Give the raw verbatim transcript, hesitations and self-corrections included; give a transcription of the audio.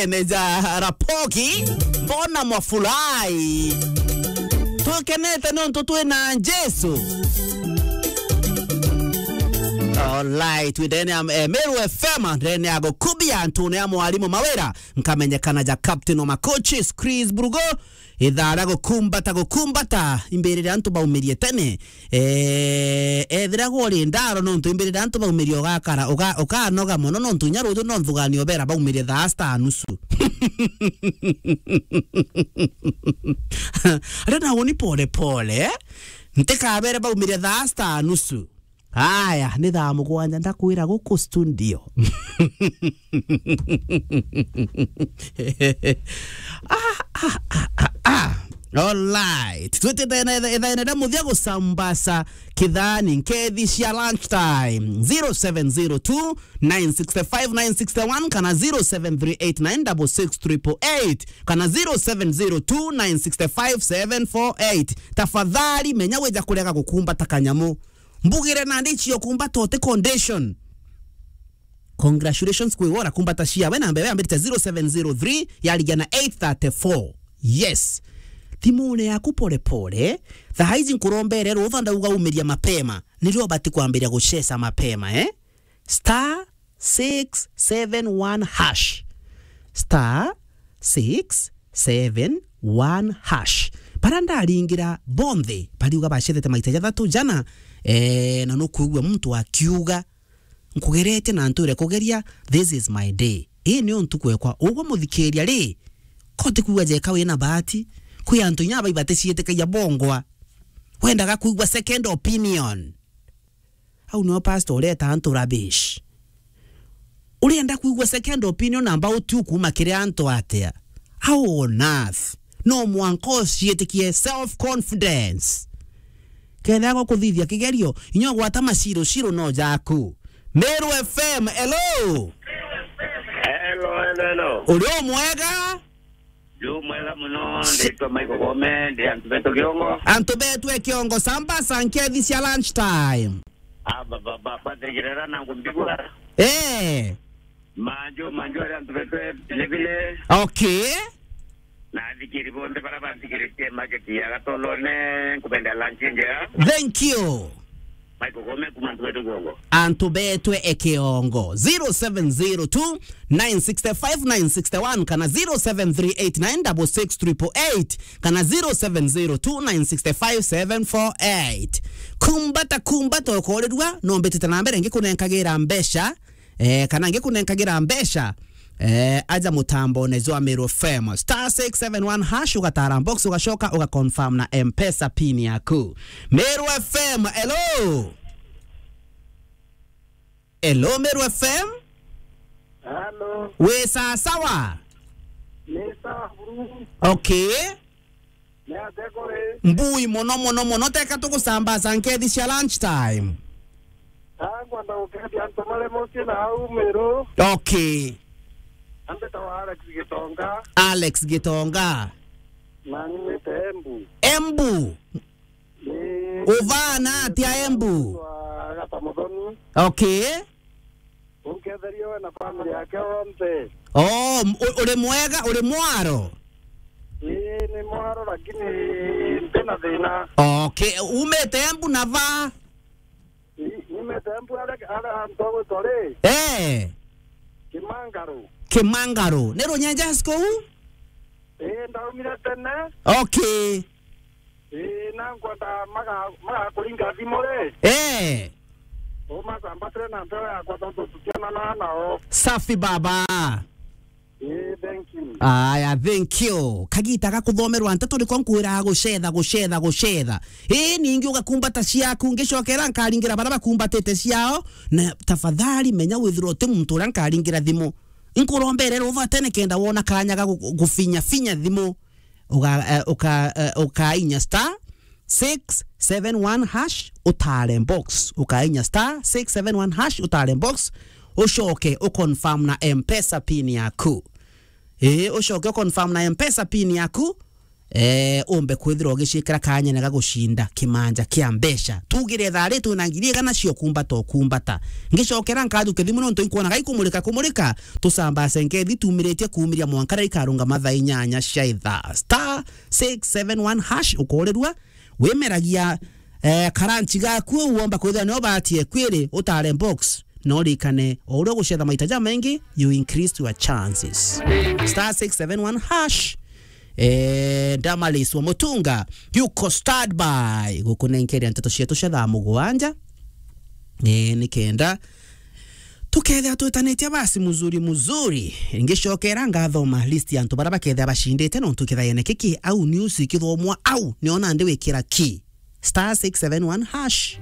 Ene ja Rapogi, mbona mwafurahi? Twikenete nontu twina Jesu. Alright, twi ndene ya, eh, Meru F M, ndene ya gukubia antune ya mwarimu Mawira, nkamenyekana ja Captain wa Macoaches, Chris Brugo, ithaa ria gukumbata, gukumbata, imbiri ria antu baumirie tene, Eh, ethira gwe uri ndaro nontu imbirire antu baumirie ugakara, uga-, ukanoga mono nontu inya ruju no nthuganio bera baumirie thaa sita nusu. Aria nawe ni pole pole, eh? Ntikabere baumirie thaa sita nusu. Aya, ni thaa mugwanja ndakwira guku studio. Ah, ah, ah, ah, ah. Alright. Twitite na itha-, ithaene ria muthia gucambasa kithani nkethi cia lunch time. Zero seven zero two, nine six five, nine six one kana zero seven three eight nine double six triple eight kana zero seven zero two, nine six five, seven four eight. Tafadhali menya wija kurega gukumbata kanyamu. Mbugire nandi icio kumbata uti condition. Congratulations kwi wora kumbata cia we namba yambirite zero seven zero three yarigia na eight thirty-four. Yes. Thimune yaku pole pole. Thaa ici nkurombere rutha ndauga umiria mapema. Nirio ubati kwambiria gucesa mapema, eh? Star six seven one hash. Star six seven one hash. Bara ndaringira bonthe, bariuga bacethete maita jathatu jana, eh, na nukwigua muntu akiuga, "Nkugeretie na ntwire kugeria, this is my day." Ii nio ntuku ekwa. Ugwe muthikiria ri, ko utikwigua jeka wina bahati? Kwi antu inya baibatiecietikagia bongwa. Wendaga kwigua second opinion. Au nio pastor ureta antu rubbish. Urienda kwigua second opinion amba utiu kuma kiri antu atia? How on earth? No mwanka uciitikie self confidence. Kethira gukuthithia kigerio, inya ugwata maciro ciro no jaku. Meru F M, hello. Hello, hello, hello. Uri o mwega? Ndi mwega muno, nditwa Michael Gome, ndi antu betu Kiongo. Antu betu e Kiongo, samba sankethi cia lunch time. Ah, ba, ba, ba, Patrick Rera na ngumbigura. Eh. Manju, manju ari antu betu e Bilibili. Okay. Na athikiri bonthe bara banthikiritie market ya Gatolone, nkubenda lunch njega. Thank you. Michael Gome kuma Ntugetu Kiongo. Antu betwe e Kiongo. Zero seven zero two, nine six five, nine six one kana zero seven three eight nine double six triple eight kana zero seven zero two, nine six five, seven four eight. Kumbata, kumbata ukorirua, no mbitite na mbere ngikunenkagira mbeca, eh, kana ngikunenkagira mbeca, eh, aja mutambone jwa Meru F M. Star six seven one hash, ugatara box, ugacoka, ugaconfirm na M-Pesa pin yaku. Meru F M, hello? Hello, Meru F M? Hello. Wi sawa sawa? Ni sawa buru. Okay. Ni atia kuri? Mbui mono, mono, mono. Teka tugusambaza nkethi cia lunch time. Ah, ngwenda gukeethia antu baria mucii na au Meru. Okay. Ambitawa Alex Gitonga. Alex Gitonga. Na nyumite Embu. Embu? Ni. Uvana atia Embu? Wa Gata Muthoni. Okay. Unketherie we na family yake onthe. Oh, m-, u-, uri mwega, uri mwaro? Ii, ni mwaro, lakini ntina thina. Okay, umite Embu na va? Ii, nyumite Embu aria, aria antu agwitwa ri? Eh. Kimangaro. Kimangaro. Ni Runyenjes kuu? Ii, ndaumire tene. Okay. Ii, na nkwenda maga-, magakuringa thimu ri? Eh. Umasambatire na mpeo yakwa tontu tutionanaa nao. Safi baba. Ii, thank you. Aya, thank you. Kagita ga kuthomerwa nteto niko nkwiraga gucetha, gucetha, gucetha. Ii, ningi ugakumbata ciaku, ngicokera nkaringira baria bakumbatite ciao. Na tafadhali menya withirwa uti muntu uria nkaringira thimu. Nkurombere ruva tene kenda wona kanya ga gu-, gufinya, finya thimu. Uga-, eh, uka-, eh, ukainya star six seven one hash, utare box. Ukainya star six seven one hash, utare box. Ucoke uconfirm na M-Pesa pin yaku. Ii, ucoke uconfirm na M-Pesa pin yaku. eh, umbe kwithirwa ugiciikira kanyene ga gucinda kimanja kia mbeca. Tugire thaa ri twina ngiri igana cia ukumbata ukumbata. Ngicokera nkathuke thimu nontu inkwona gaikumurika kumurika, tucambase nkethi tumiritie kuumiria mwanka riria ikarungama thaa inyanya cia ithaa. Star six seven one hash ukorirua, wimeragia, eh, karanchi gaku uomba kwithirwa nio batie kwiri utare box. No rikane, o uria ugucetha maita jamaingi, you increase your chances. Star six seven one hash. Eh, Damaris wa Mutunga, yuko stand by gukunenkeria nteto cietu cia thaa mugwanja. Eh, nikenda tukethira twitanitie basi muzuri muzuri. Ngicokera ngathoma list ya antu baria bakethira bacindite nontu kithayene kiki au news ikithomwa au niona ndi wikira ki. Star six seven one hash.